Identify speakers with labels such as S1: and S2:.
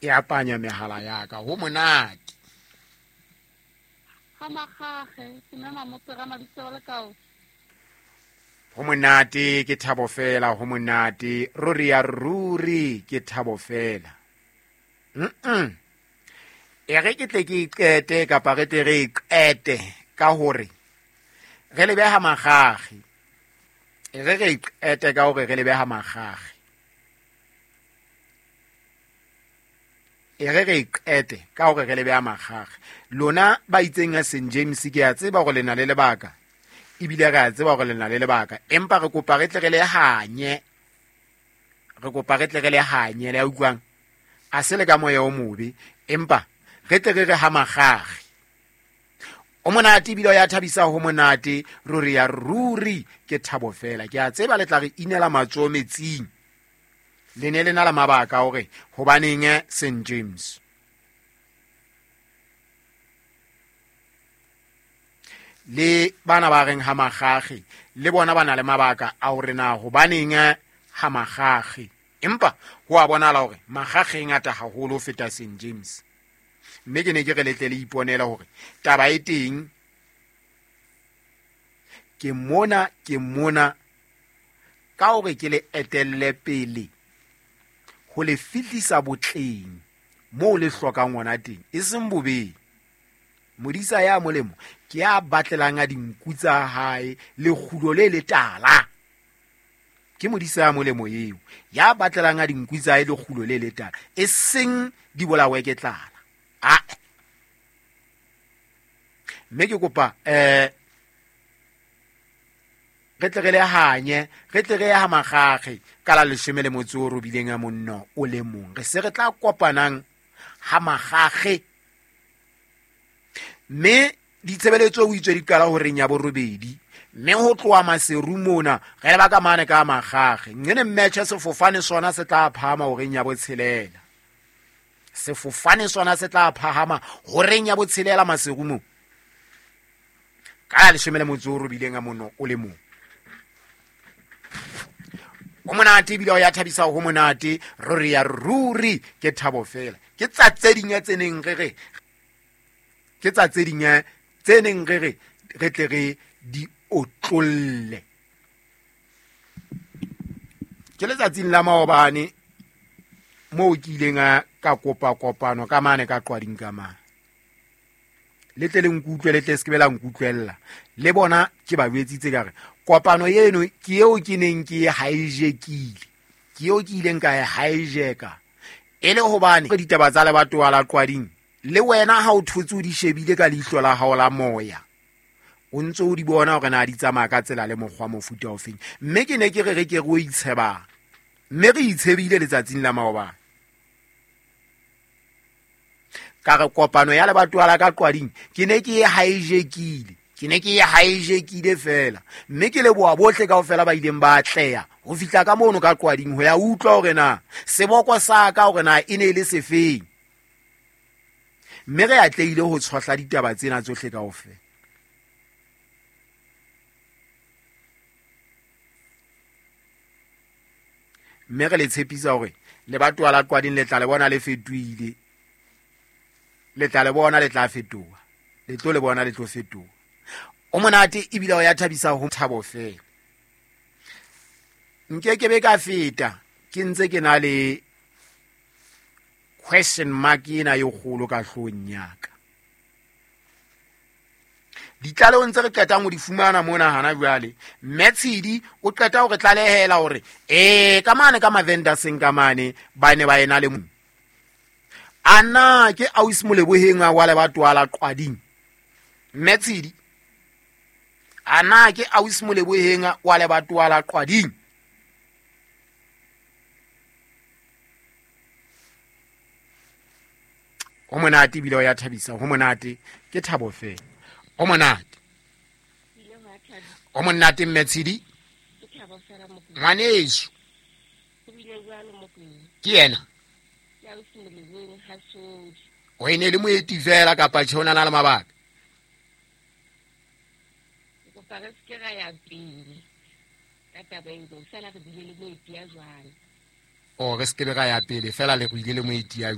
S1: E apanya mehala ya ka ho monate.
S2: Ga magage ke mema mopera mabitso le kao.
S1: Ho monate ke thabo fela, ho monate ruri ya ruri ke thabo fela. E re ke tle ke iqete kapa re tle re iqete ka hore re le beha magage. E re re iqete ka hore re le beha magage. E re re iqete ka hore re le beha magage. Lona ba itseng ya St James ke a tseba hore le na le lebaka. Ebile re a tseba hore le na le lebaka. Empa re kopa re tle re le hanye. Re kopa re tle re le hanye, le a utlwang? A se le ka moya o mobe, empa re tle re re ha magage. O monate ebile o ya thabisa ho monate, ruri ya ruri ke thabo fela. Ke a tseba le tla re inela matsoho metsing. Le ne le na le mabaka hore hobaneng St James. Le bana ba reng ha magage, le bona ba na le mabaka a hore na hobaneng ha magage. Empa ho a bonahala hore magage e ngata haholo ho feta St James. Mme ke ne ke re le tle le iponele hore taba e teng. Ke mona, ke mona ka hore ke le etelle pele ho le fihlisa botleng moo le hlokang hona teng, e seng bobeng. Modisa ya molemo ke ya batlelang a dinku tsa hae lekgulo le letala. Ke modisa ya molemo eo ya batlelang a dinku tsa hae lekgulo le letala, e seng di bolawe ke tlala. A mme ke kopa re tle re le hanye, re tle re ye ha magage ka la leshome le motso o robileng a monno o le mong. Re se re tla kopanang ha magage. Mme ditshebeletso o itswe di qala horeng ya borobedi, mme ho tloha Maseru mona re leba ka mane ka magage. Nqene mmetjhe sefofane sona se tla phahama horeng ya botshelela. Sefofane sona se tla phahama horeng ya botshelela Maseru mo. Ka la leshome le motso o robileng a monno o le mong. O monate ebile o ya thabisa ho monate, ruri ya ruri ke thabo fela. Ke tsa tse ding tse neng re re, ke tsa tse ding tse neng re re, re tle re di otlolle. Ke letsatsing la maobane moo ke ileng ka kopa kopano ka mane ka Qwading ka mane. Le tle le nkutlwe, le tle se ke be la nkutlwella. Le bona ke ba jwetsitse ka re kopano eno ke eo ke neng ke e hijackile, ke eo ke ileng ka e hijacka e le hobane ditaba tsa lebatowa la Qwading le wena ha o thotse o di shebile ka leihlo la hao la moya, o ntse o di bona hore na di tsamaya ka tsela le mokgwa mofuta ofeng. Mme ke ne ke re re ke re o itshebang, mme re itshebile letsatsing la maobane. Ka re kopano ya lebatowa la ka Qwading ke ne ke e hijackile, ke ne ke e hijackile fela. Mme ke leboha bohle kaofela ba ileng ba atleha ho fihla ka mono ka Qwading ho ya utlwa hore na seboko sa ka hore na e ne e le sefeng. Mme re atlehile ho tshohla ditaba tsena tsohle kaofela. Mme re le tshepisa hore lebatowa la Qwading le tla le bona le fetohile. Le tla le bona le tla fetoha. Le tlo le bona le tlo fetoha. O monate ebile o ya thabisa ho thabo fela. Nke ke be ka feta ke ntse ke na le question mark ena e kgolo ka hloohong ya ka. Ditlalehong tse re qetang ho di fumana mona hana jwale, Mme Tshidi o qeta ho re tlalehela hore ka mane ka Mavendaseng ka mane ba ne ba ena le mo. A na ke ausi Moleboheng wa lebatowa la Qwading? Mme Tshidi, a na ke ausi Moleboheng wa lebatowa la Qwading? Ho monate ebile o ya thabisa, ho monate ke thabo fela. Ho monate. O monate Mme Tshidi. Ngwaneso. Ke yena. O ene le moeti fela kapa tjhe o na le mabaka?
S2: Ke kopa re se ke ra ya pele ka taba eo, fela re bile le moeti ya jwang.
S1: O re se ke ra ya pele fela le go ile le moeti ya